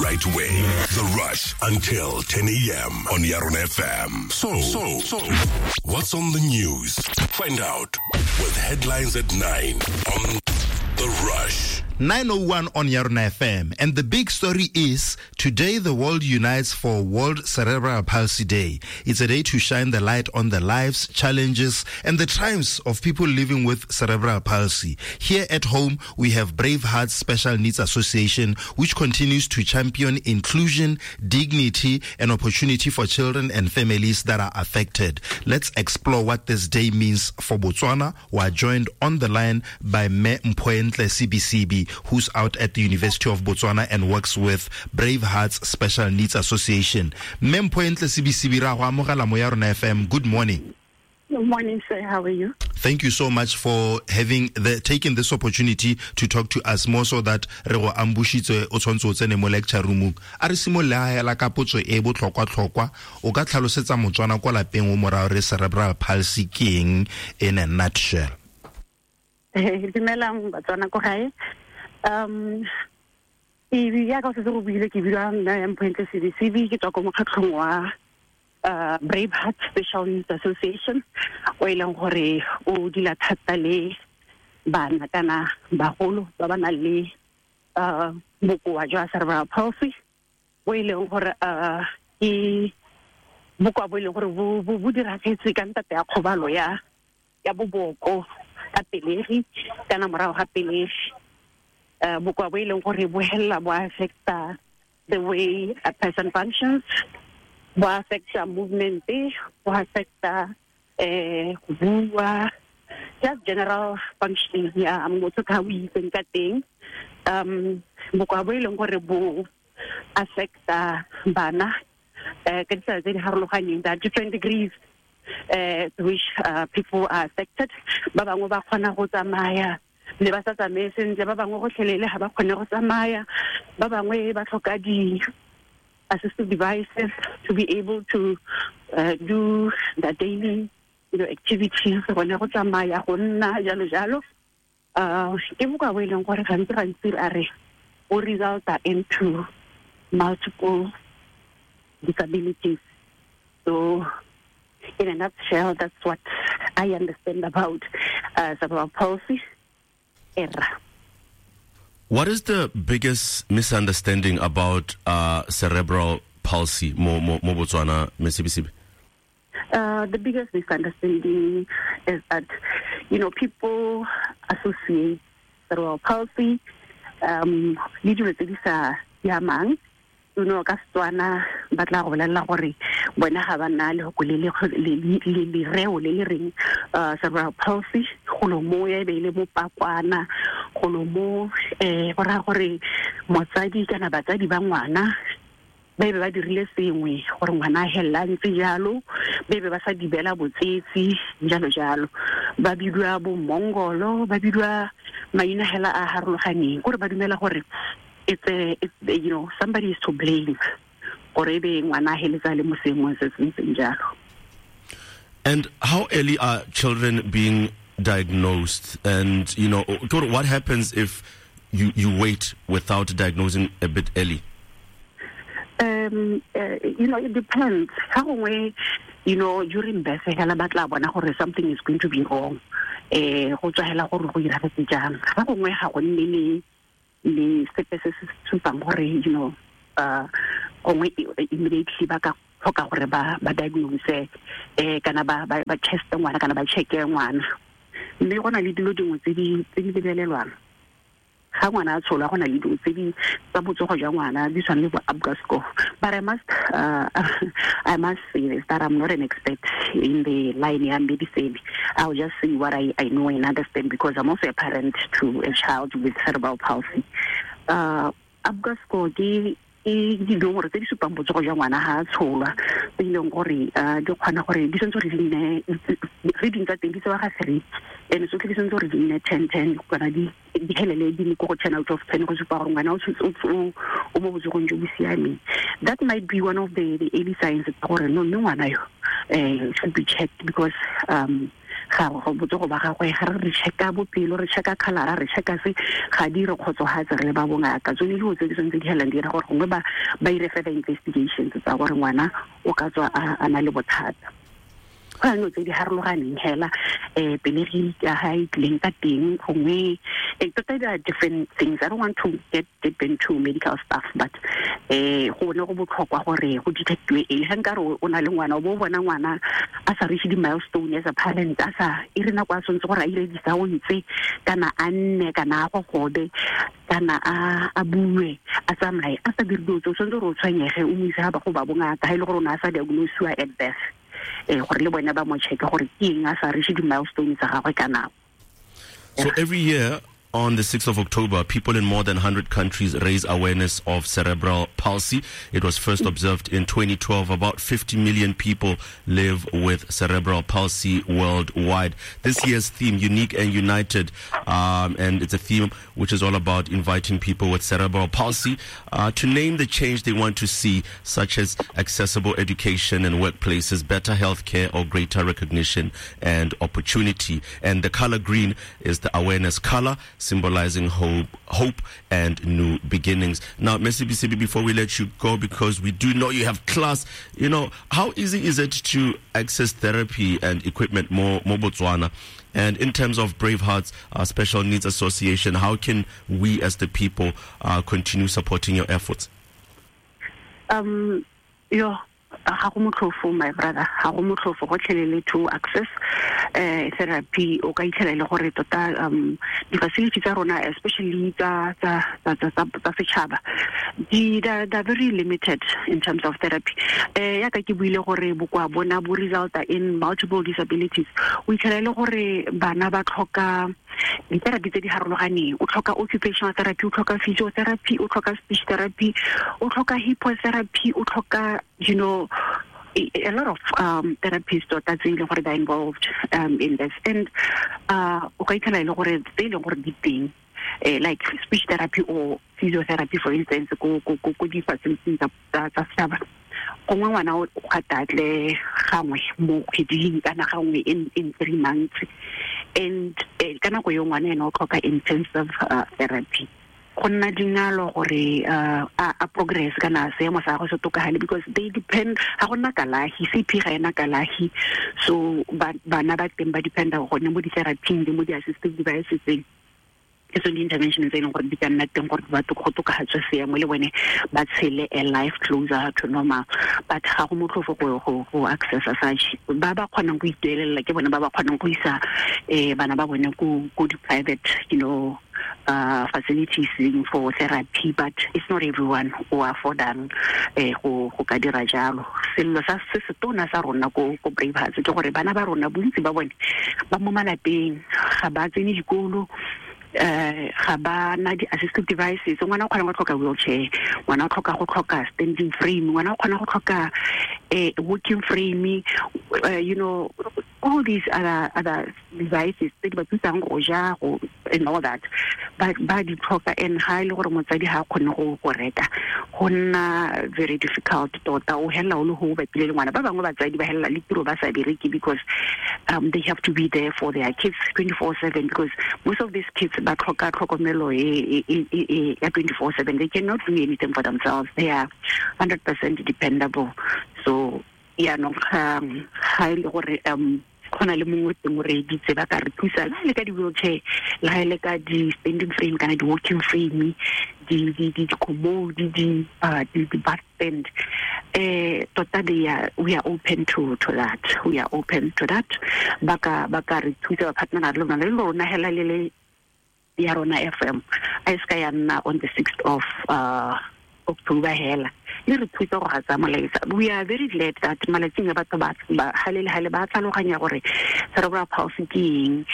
right way. The Rush until 10 a.m. on Yarona FM. So, what's on the news? Find out with headlines at 9 on The Rush. 9:01 on Yarona FM. And the big story is today the world unites for World Cerebral Palsy Day. It's a day to shine the light on the lives, challenges, and the triumphs of people living with cerebral palsy. Here at home, we have Brave Hearts Special Needs Association, which continues to champion inclusion, dignity, and opportunity for children and families that are affected. Let's explore what this day means for Botswana. We are joined on the line by Me Mphoentle Sibisibi, who's out at the University of Botswana and works with Brave Hearts Special Needs Association. Me Mphoentle Sibisibi, ra go amogela mo ya rona FM. Good morning. Good morning, sir. How are you? Thank you so much for taking this opportunity to talk to us, more so that re go ambushitse o tshwantse o tsene mo lecture room. A re simolola hela ka potso e botlhokwa-tlhokwa. O ka tlhalosetsa Motswana kwa lapeng o morao re cerebral palsy ke eng in a nutshell? Dumelang Batswana ko gae. Ya ka o setse go buile, ke bidiwa nna Mphoentle Sibisibi, ke tswa ko mokgatlhong wa Brave Heart Special Needs Association, o e leng gore o dila thata le bana kana bagolo ba ba nang le bokoa jwa cerebral palsy, bo e leng gore ke bokoa bo e leng gore bo diragetse ka ntate ya kgobalo ya boboko ka pelegi kana morago ga pelegi. Bokoa bo e leng gore bo hella bo affecta the way a person functions, bo affecta movement, bo affecta go bua, just general functioning ya motho ka o itseng ka teng. Bokoa bo e leng gore bo affecta bana ka ditsela tse di harologaneng, there are different degrees to which people are affected. Ba bangwe ba kgona go tsamaya le ba sa tsamaye sentle, ba bangwe gotlhelele ga ba kgone go tsamaya, ba bangwe ba tlhoka di assistive devices to be able to do the daily activities, gone go tsamaya, go nna, jalo jalo. Ke bokoa bo e leng gore gantsi gantsi a re o resulta into multiple disabilities. So in a nutshell, that's what I understand about cerebral palsy. Error. What is the biggest misunderstanding about cerebral palsy mo Botswana, Ms. Sibisibi? The biggest misunderstanding is that people associate cerebral palsy le dilo tse di sa siamang. Ka Setswana ba tla go bolelela gore bona ga ba na lehoko le lereo le le reng cerebral palsy, golo mo ya e be e le mopakwana, golo mo go raya gore motsadi kana batsadi ba ngwana ba be ba dirile sengwe gore ngwana a helela a ntse jalo, ba be ba sa dibela botsetsi jalo jalo, ba bidiwa bo mongolo, ba bidiwa maina hela a harologaneng, kore ba dumela gore somebody is to blame gore e be ngwana a heletsa le mo seemong se se ntseng jalo. And how early are children being diagnosed? And what happens if you wait without diagnosing a bit early? It depends. Ka gongwe, during birth hela ba tla bona gore something is going to be wrong. Go tswa hela gore go iragetse jang. Ka gongwe ga go nne le sepe se se supang gore, gongwe immediately ba ka tlhoka gore ba diagnose, kana ba test ngwana kana ba checke ngwana. Mme go na le dilo dingwe tse di lebelelwang. Ga ngwana a tsholwa, go na le dilo tse di tsa botsogo jwa ngwana di tshwana le bo Apgar score. But I must say this, that I'm not an expert in the line ya medicine. I'll just say what I know and understand, because I'm also a parent to a child with cerebral palsy. Apgar score ke dinomoro tse di supang botsogo jwa ngwana ga a tsholwa, tse e leng gore di kgona gore di tshwanetse gore di nne reading tsa teng di tsewa ga 3, and tsotlhe di tshwanetse gore di nne 10-10, kana di helele di le ko go 10 out of 10, go supa gore ngwana o mo botsogong jo bo siameng. That might be one of the early signs tsa gore no, mme ngwana yo should be checked, because Ga go botsogo ba gagwe, ga re checka bophelo, re checka khalara, re checka se, ga di re kgotsogatse re le ba bongaka. Tsone dilo tse di tshwanetse di helang di dira gore gongwe ba ire further investigations tsa gore ngwana o ka tswa a na le bothata. Go na le tse di harologaneng hela, pelegi ka ha e tlileng ka teng gongwe, tota there are different things. I don't want to get deep into medical stuff, but go ne go botlhokwa gore go detectiwe e ga nkare o na le ngwana, o bo o bona ngwana a sa reach di-milestone as a parent, a sa e re nako a tshwanetse gore a ire di-sounds kana a nne kana a gogobe kana a bue a tsamaye a sa dire dilo tse, o tshwanetse gore o tshwenyege o mo ise ga ba go ba bongaka, ga e le gore o ne a sa diagnosiwa at birth, gore le bone ba mo checke gore ke eng a sa reach di-milestone tsa gagwe ka nako. So every year on the 6th of October, people in more than 100 countries raise awareness of cerebral palsy. It was first observed in 2012. About 50 million people live with cerebral palsy worldwide. This year's theme, Unique and United, and it's a theme which is all about inviting people with cerebral palsy to name the change they want to see, such as accessible education and workplaces, better healthcare, or greater recognition and opportunity. And the color green is the awareness color, symbolizing hope and new beginnings. Now, Sibisibi, before we let you go, because we do know you have class, you know, how easy is it to access therapy and equipment more Botswana? And in terms of Brave Hearts Special Needs Association, how can we as the people continue supporting your efforts? Ga go motlhofo, my brother, ga go motlhofo gotlhelele to access therapy. O ka itlhela e le gore tota di-facility tsa rona, especially tsa setšhaba, they're very limited in terms of therapy. Yaka ke buile gore bokoa bona bo resulta in multiple disabilities. O itlhela e le gore bana ba tlhoka di-therapy tse di harologaneng. O tlhoka occupational therapy, o tlhoka physiotherapy, o tlhoka speech therapy, o tlhoka hippotherapy, o tlhoka, you know, a lot of therapies tota tse e leng gore they are involved in this. And o ka itlhela e le gore tse e leng gore di teng, like speech therapy or physiotherapy, for instance, ko di-facilities tsa setšhaba, gongwe ngwana o gatatle gangwe mo kgweding kana gangwe in 3 months, and ka nako eo ngwana ene o tlhoka intensive therapy. Go nna dingalo gore a progress kana seemo sa gagwe se tokagale, because they depend, ga go nna kalahi, CP ga ena kalahi, so bana ba teng ba dependa gone mo di-therapyng le mo di-assistive devices. Ke tsone di-intervention tse e leng gore di ka nna teng gore batho go tokafatswe seemo le bone ba tshele a life closer to normal. But ga go motlhofo go accessa such. Ba ba kgonang go ituelela ke bone ba ba kgonang go isa bana ba bone ko di-private, you know, facilities for therapy, but it's not everyone who affordang go ka dira jalo. Sello sa se se tona sa rona ko Brave Hearts ke gore bana ba rona bontsi ba bone ba mo malapeng, ga ba tsene dikolo, ga ba na di-assistive devices. Ngwana o kgona go tlhoka wheelchair, ngwana o tlhoka go tlhoka standing frame, ngwana o kgona go tlhoka walking frame, you know, all these other devices tse di ba thusang go ja go and all that, ba di tlhoka. And ga e le gore motsadi ga a kgone go reka, go nna very difficult tota. O helela o le go bapile le ngwana. Ba bangwe batsadi ba helela le tiro ba sa bereke because they have to be there for their kids 24/7, because most of these kids ba tlhoka tlhokomelo ya 24/7. They cannot do anything for themselves. They are 100% dependable. So yaanong ga e le gore go na le mongwe teng o reeditse, ba ka re thusa le ka di-wheelchair, le ga e le ka di-standing frame kana di-walking frame, di-commode, di-bath stand, tota we are open to that. We are open to that. Ba ka re thusa, ba partnera le rona, le rona hela le ya rona FM a e se ka ya nna on the 6th of October hela, le re thusa go gatsa molaetsa. We are very glad that malatsing a batho ba hale le hale ba tlhaloganya gore cerebral palsy ke eng,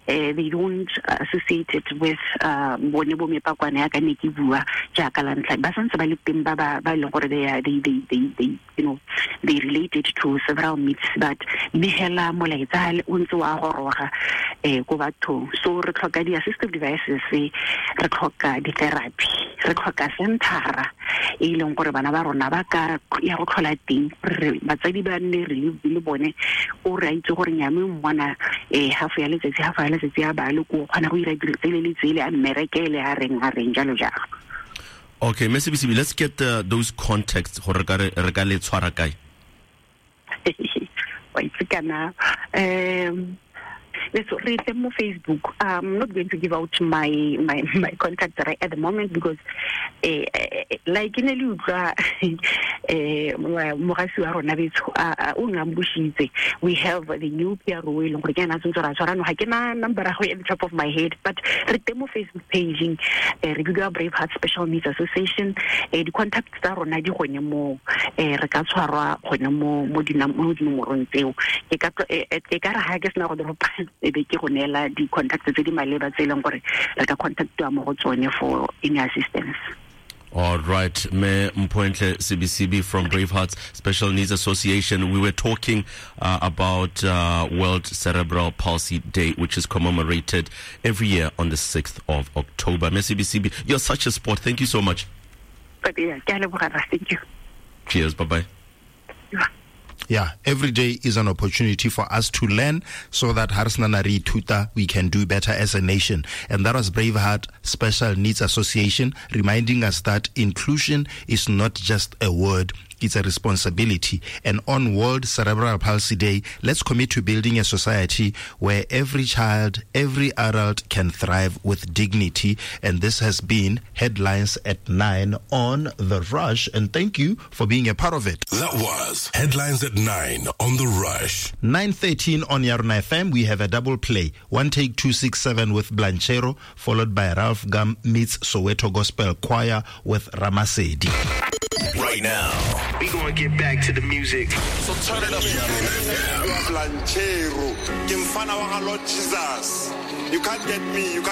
They don't associate it with bone bo mepakwana ya ka ne ke bua jaaka la ntlha ba santse ba le teng ba ba e leng gore they are they they they they you know they related to several myths, but mme hela molaetsa o ntse wa goroga ko bathong. So re tlhoka di-assistive devices, re tlhoka di-therapy, re tlhoka centera e leng gore bana ba rona ba ka ya go tlhola teng, re batsadi ba nne re le bone o re a itse gore nyame mmona half ya letsatsi ya ba le ko kgona go ira dilo tsele le tsele a mmerekele a reng jalo jalo. Okay, Mme Sebesebe, let's get those contacts gore re ka le tshwara kae. Wa itse kana re teng mo Facebook. I'm not going to give out my my contact right at the moment because like ne le utlwa mogasi wa rona betsho o ngambushitse. We have the new PRO e leng gore ke ena tshwanetse ra tshwara no, ga ke na number ya go at the top of my head, but re teng mo Facebook page, re bidiwa Brave Heart Special Needs Association. Di-contact tsa rona di gone mo, re ka tshwarwa gone mo dinomorong tseo. Ke ka re ga ke sena go dropa e be ke go neela di-contact tse di maleba tse e leng gore re ka contactiwa mo go tsone for any assistance. All right, Me Mphoentle Sebesebe from Brave Hearts Special Needs Association. We were talking about World Cerebral Palsy Day, which is commemorated every year on the 6th of October. Me Sebesebe, you're such a sport. Thank you so much. Thank you. Cheers. Bye-bye. Yeah. Yeah, every day is an opportunity for us to learn so that Harsnanari Tuta, we can do better as a nation. And that was Braveheart Special Needs Association reminding us that inclusion is not just a word, it's a responsibility. And on World Cerebral Palsy Day, let's commit to building a society where every child, every adult can thrive with dignity. And this has been Headlines at 9 on The Rush. And thank you for being a part of it. That was Headlines at 9 on The Rush. 9:13 on Yarona FM, we have a double play. 1 Take 267 with Blanchero, followed by Ralph Gum meets Soweto Gospel Choir with Ramasedi. Right now, we gonna get back to the music. So turn it up. Blanchero, Jesus. You can't get me. You can't.